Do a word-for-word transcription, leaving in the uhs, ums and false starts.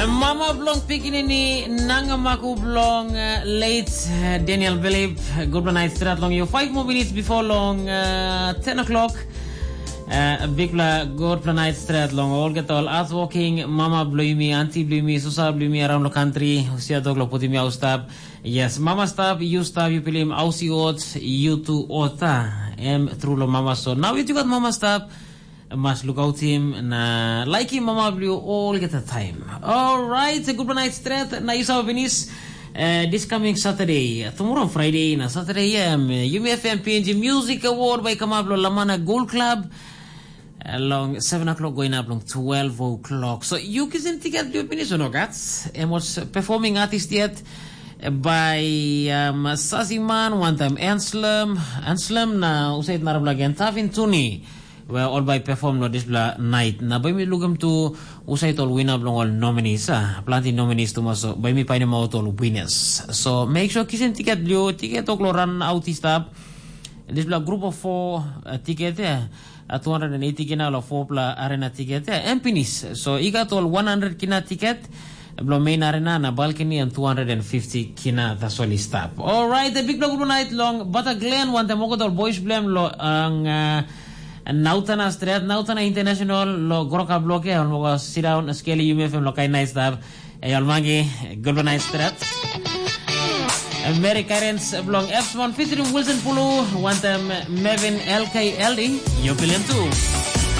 Mama bilong pikinini nangamaku bilong uh, late uh, Daniel Belip, good night strat long you. Five more minutes before long uh, ten o'clock. Uh, bikpela good night strat long olgeta ol hardworking mama bilong mi, auntie bilong mi, susa bilong mi around the country, usia dog lo putim mi au stap. Yes, mama stap, you stap, you pilim ausi ot, you tu ota. Em true lo mama so. Now you got mama stap, mas lukautim na laikim mama bilong olgeta taim. Alright, good night stret na yu save pinis. Uh, this coming Saturday, tomorrow Friday na Saturday em Yumi F M P N G Music Award bai kamap lo Lamana Gold Club, uh, long seven o'clock going up long twelve o'clock. So you kisim tiket you pinis or no gats? Em was performing artist yet by um, Sasiman, one time Anslem, Anslem na usait narapla gen Tavin Tuni. Where all by perform lo dispela night. Na bai mi lukim tu usait ol winner bilong ol nominees. Ah, planti nominees tu maso. Bai mi painim out ol winners. So make sure kisim tiket liu, tiket oklo run out i stap. Dispela group of four uh, tiket ya. Uh, two hundred eighty kina lo four pla arena tiket ya. Em pinis. So i gat ol one hundred kina tiket. Bilong main arena na balcony em two hundred fifty kina tasol i stap. Alright, a big block night long Bata Glen, one time okot ol boys blem lo ang uh, Nautana Stret, Nautana International lo Groka Bloke, on moga sit down skeli yumi fem lo kai night stap. Ey ol mangi, good night stret. Mary Karens belong Epsmon featuring Wilson Pulu, one time Mevin L K Elding, you billion too.